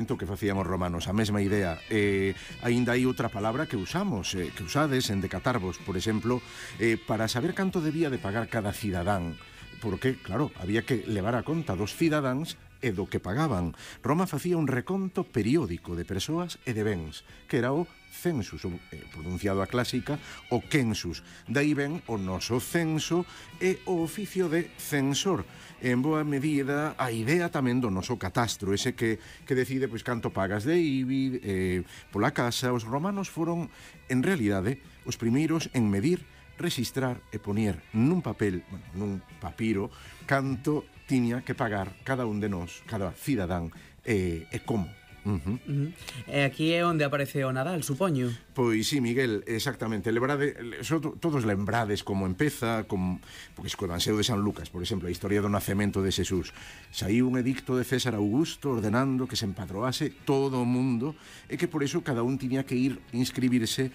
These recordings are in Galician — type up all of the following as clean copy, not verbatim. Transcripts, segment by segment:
que facíamos romanos, a mesma idea. Aínda hai outra palabra que usamos, que usades en Decatarvos, por exemplo, para saber canto debía de pagar cada cidadán, porque, claro, había que levar a conta dos cidadáns e do que pagaban. Roma facía un reconto periódico de persoas e de bens, que era o census, pronunciado a clásica, o census. Daí ven o noso censo e o oficio de censor. En boa medida, a idea tamén do noso catastro, ese que decide pois canto pagas de IBI pola casa. Os romanos foron, en realidade, os primeiros en medir, registrar e poñer nun papel, nun papiro, canto tiña que pagar cada un de nós, cada cidadán, e como. E aquí é onde aparece o Nadal, supoño. Pois sí, Miguel, exactamente. Todos lembrades como empeza, porque co Evangelio de San Lucas, por exemplo, a historia do nacemento de Xesús. Saíu un edicto de César Augusto ordenando que se empadroase todo o mundo e que por eso cada un tiña que ir inscribirse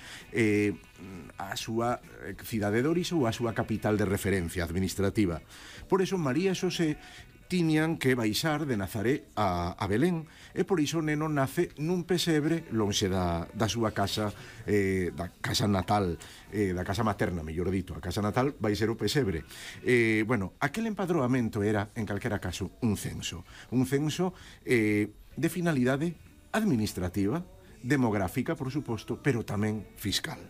a súa cidade de orixe ou a súa capital de referencia administrativa. Por eso María e Xosé tiñan que baixar de Nazaré a Belén, e por iso o neno nace nun pesebre lonxe da súa casa, da casa natal, da casa materna, mellor dito. A casa natal vai ser o pesebre. Aquel empadroamento era, en calquera caso, un censo de finalidade administrativa, demográfica, por suposto, pero tamén fiscal.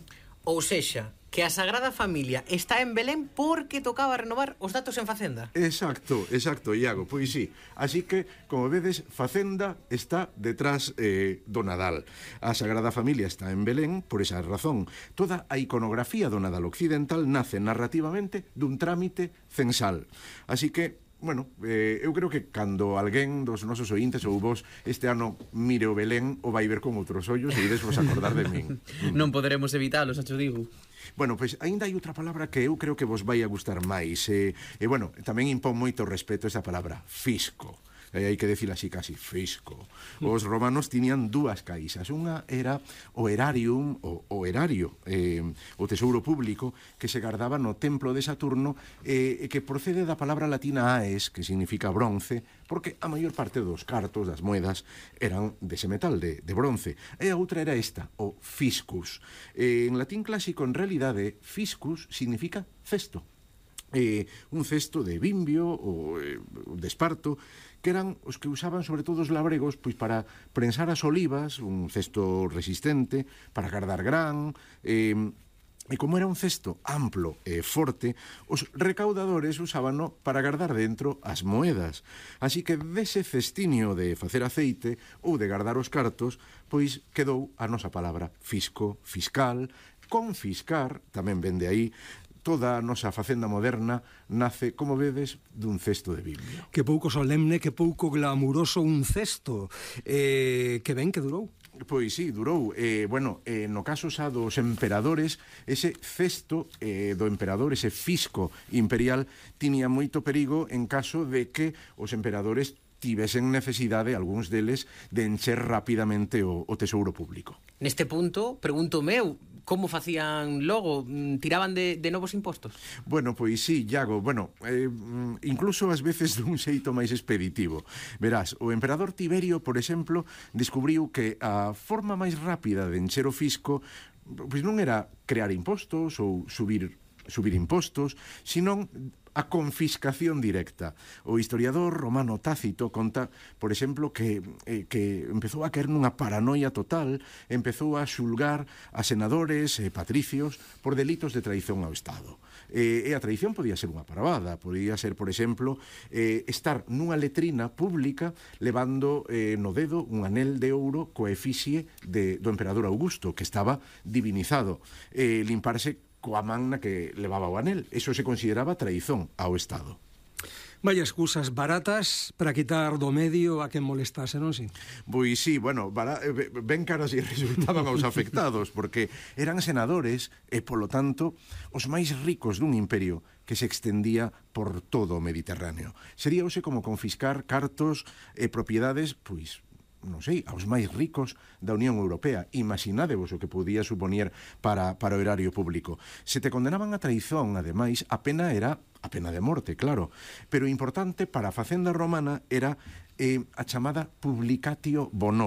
Ou sexa, que a Sagrada Familia está en Belén porque tocaba renovar os datos en Facenda. Exacto, Iago, pois sí. Así que, como vedes, Facenda está detrás do Nadal. A Sagrada Familia está en Belén por esa razón. Toda a iconografía do Nadal occidental nace narrativamente dun trámite censal. Así que, eu creo que cando alguén dos nosos ointes ou vos este ano mire o Belén o vai ver con outros ollos e ides vos acordar de min. Non poderemos evitalo, xa te digo. Pois aínda hai outra palabra que eu creo que vos vai a gustar máis. Tamén impón moito respeto esa palabra, fisco. Hai que decir así casi, fisco. Os romanos tiñan dúas caixas. Unha era o erarium, o erario, o tesouro público, que se guardaba no templo de Saturno, que procede da palabra latina aes, que significa bronce, porque a maior parte dos cartos, das moedas, eran dese metal, de bronce. E a outra era esta, o fiscus. En latín clásico, en realidade, fiscus significa cesto. Un cesto de bimbio ou de esparto, que eran os que usaban sobre todo os labregos pois para prensar as olivas, un cesto resistente, para guardar gran, e como era un cesto amplo e forte, os recaudadores usábano para guardar dentro as moedas. Así que dese cestinio de facer aceite ou de guardar os cartos, pois quedou a nosa palabra fisco, fiscal, confiscar, tamén vende aí. Toda a nosa facenda moderna nace, como vedes, dun cesto de bimbio. Que pouco solemne, que pouco glamuroso un cesto. Que ben que durou. Pois sí, durou. No caso xa dos emperadores, ese cesto do emperador, ese fisco imperial, tiña moito perigo en caso de que os emperadores tivesen necesidade, algúns deles, de encher rapidamente o tesouro público. Neste punto, pregúntome eu, como facían logo? Tiraban de novos impostos? Pois sí, Iago, incluso ás veces dun xeito máis expeditivo. Verás, o emperador Tiberio, por exemplo, descubriu que a forma máis rápida de encher o fisco pois non era crear impostos ou subir impostos, senón a confiscación directa. O historiador romano Tácito conta, por exemplo, que empezou a caer nunha paranoia total, empezou a xulgar a senadores e patricios por delitos de traición ao Estado. E a traición podía ser unha parvada, podía ser, por exemplo, estar nunha letrina pública levando no dedo un anel de ouro coa efigie do emperador Augusto, que estaba divinizado, limparse coa man na que levaba o anel. Eso se consideraba traizón ao Estado. Vaya excusas baratas para quitar do medio a quen molestase, non si? Pois sí, ben caras e resultaban aos afectados, porque eran senadores e, polo tanto, os máis ricos dun imperio que se extendía por todo o Mediterráneo. Sería hoxe como confiscar cartos e propiedades, pois, non sei, aos máis ricos da Unión Europea. Imaginádevos o que podía supoñer para o erario público. Se te condenaban a traizón, ademais, a pena era a pena de morte, claro. Pero importante para a facenda romana era a chamada publicatio bonorum.